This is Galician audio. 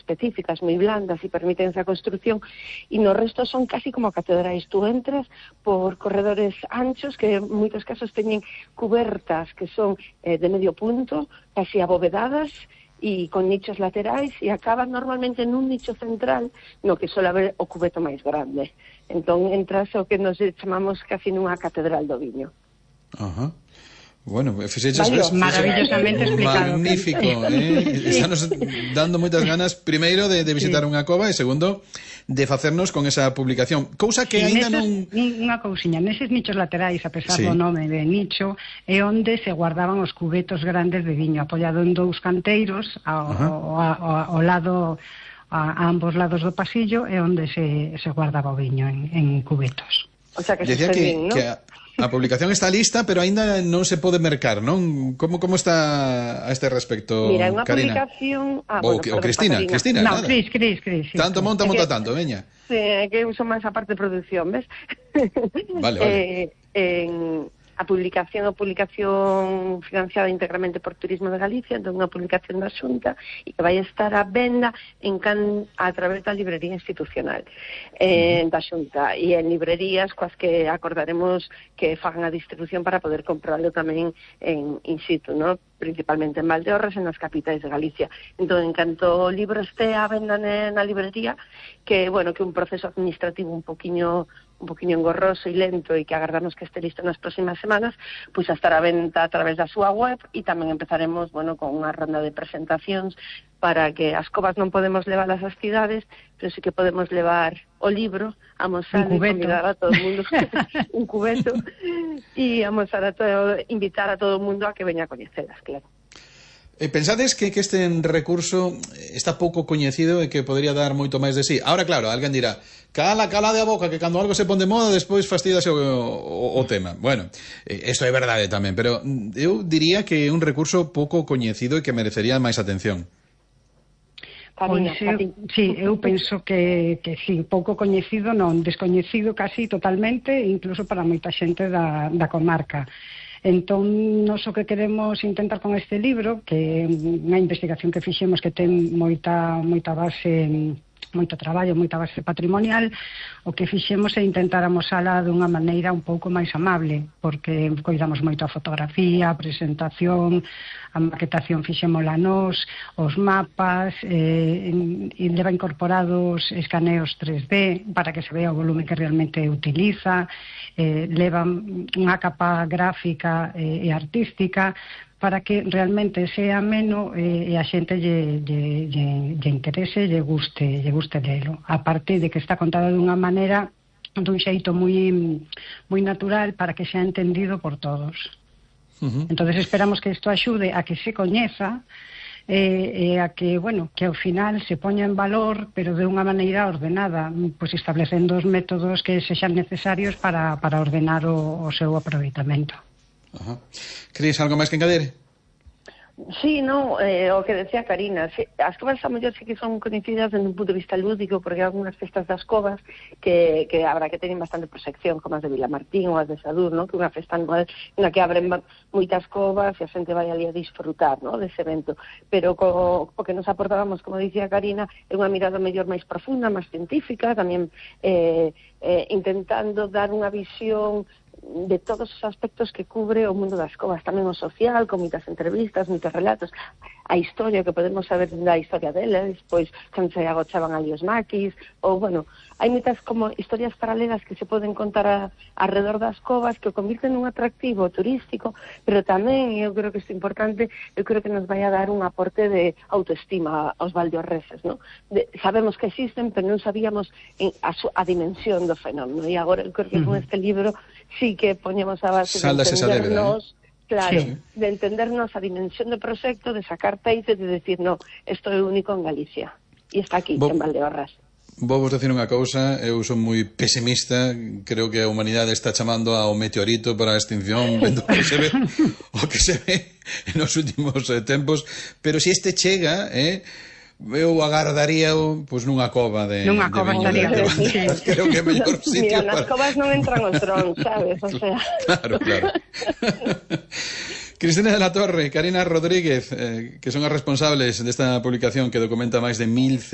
específicas, moi blandas e permiten esa construción, e no resto son casi como catedrais. Tú entras por corredores anchos que en moitos casos teñen cubertas que son de medio punto, casi abovedadas, e con nichos laterais, e acaban normalmente nun nicho central no que suele haber o cubeto máis grande. Entón entras o que nos chamamos casi nunha catedral do viño. Ajá. Bueno, maravillosamente explicado. Magnífico, Estamos dando moitas ganas, primeiro, de visitar unha cova, e segundo, de facernos con esa publicación. Cousa que aínda non... Unha cousiña, neses nichos laterais, a pesar do nome de nicho, é onde se guardaban os cubetos grandes de viño, apoiado en dous canteiros, ao lado... a ambos lados do pasillo, é onde se guardaba o viño en cubetos. O sea, que decía que a publicación está lista, pero aínda non se pode mercar, non? Como está a este respecto, Mira, unha Karina? Publicación... O Cristina. No, Cris. Tanto monta tanto, veña. Sí, que uso máis a parte de produción, ves? Vale. A publicación financiada íntegramente por Turismo de Galicia, entón unha publicación da Xunta e que vai estar a venda a través da librería institucional da Xunta, e en librerías coas que acordaremos que fagan a distribución para poder comprarlo tamén in situ, ¿no? Principalmente en Valdeorras e nas capitais de Galicia. Entón, en canto o libro este a venda na librería, que un proceso administrativo un poquinho engorroso e lento, e que agardamos que este listo nas próximas semanas, pois a estar a venta a través da súa web, e tamén empezaremos, con unha ronda de presentacións para que as covas non podemos levar ás cidades, pero sí que podemos levar o libro, amosar e convidar a todo o mundo un cubeto, e invitar a todo o mundo a que veña a coñecelas, claro. Pensades que este recurso está pouco coñecido e que podría dar moito máis de sí? Ahora, claro, alguén dirá, cala de a boca, que cando algo se pon de moda, despois fastidase o tema. Bueno, isto é verdade tamén, pero eu diría que é un recurso pouco coñecido e que merecería máis atención. Eu penso que sí, pouco coñecido, non, descoñecido casi totalmente, incluso para moita xente da comarca. Entón, nós o que queremos intentar con este libro, que é unha investigación que fixemos que ten moita base, moito traballo, moita base patrimonial, o que fixemos é intentar amosala dunha maneira un pouco máis amable, porque coidamos moito a fotografía, a presentación, a maquetación fixémola nós, os mapas, e leva incorporados escaneos 3D para que se vea o volume que realmente utiliza, leva unha capa gráfica e artística para que realmente sea ameno e a xente lle interese, lle guste lelo. A parte de que está contado dunha maneira, dun xeito moi natural para que sea entendido por todos. Entonces esperamos que isto axude a que se coñeza e a que, que ao final se poña en valor, pero de unha maneira ordenada, pois establecendo os métodos que sexan necesarios para ordenar o seu aproveitamento. Cris, algo máis que engadir? Sí, o que decía Karina, as covas a mellor sí que son coñecidas desde un punto de vista lúdico, porque hai algunhas festas das covas que habrá que tener bastante proxección, como as de Vilamartín ou as de Sadur, ¿no? Que é unha festa anual na que abren moitas covas e a xente vai ali a disfrutar, ¿no? Dese evento, pero o que nos aportábamos, como dicía Karina, é unha mirada mellor máis profunda, máis científica, tamén intentando dar unha visión de todos os aspectos que cubre o mundo das covas, tamén o social, con moitas entrevistas, moitos relatos, a historia que podemos saber da historia deles, pois cando se agochaban ali os maquis, ou hai moitas como historias paralelas que se poden contar alrededor das covas que o convirten nun atractivo turístico, pero tamén, eu creo que isto é importante, eu creo que nos vai a dar un aporte de autoestima aos valdeorreses, ¿no? Sabemos que existen, pero non sabíamos a dimensión do fenómeno, e agora eu creo que con este libro sí que poñemos a base de entendernos, de entendernos a dimensión do proxecto, de sacar peite, de decir, isto é único en Galicia, e está aquí, en Valdeorras. Vou vos decir unha cousa, eu son moi pesimista, creo que a humanidade está chamando ao meteorito para a extinción, vendo o que se ve nos últimos tempos, pero se este chega, eu agardaría nunha cova de estaría creo que é mellor sitio. Mira, nas covas non entran os drones, sabes? O sea... Claro. Cristina de la Torre, Karina Rodríguez, que son as responsables desta publicación que documenta máis de 1100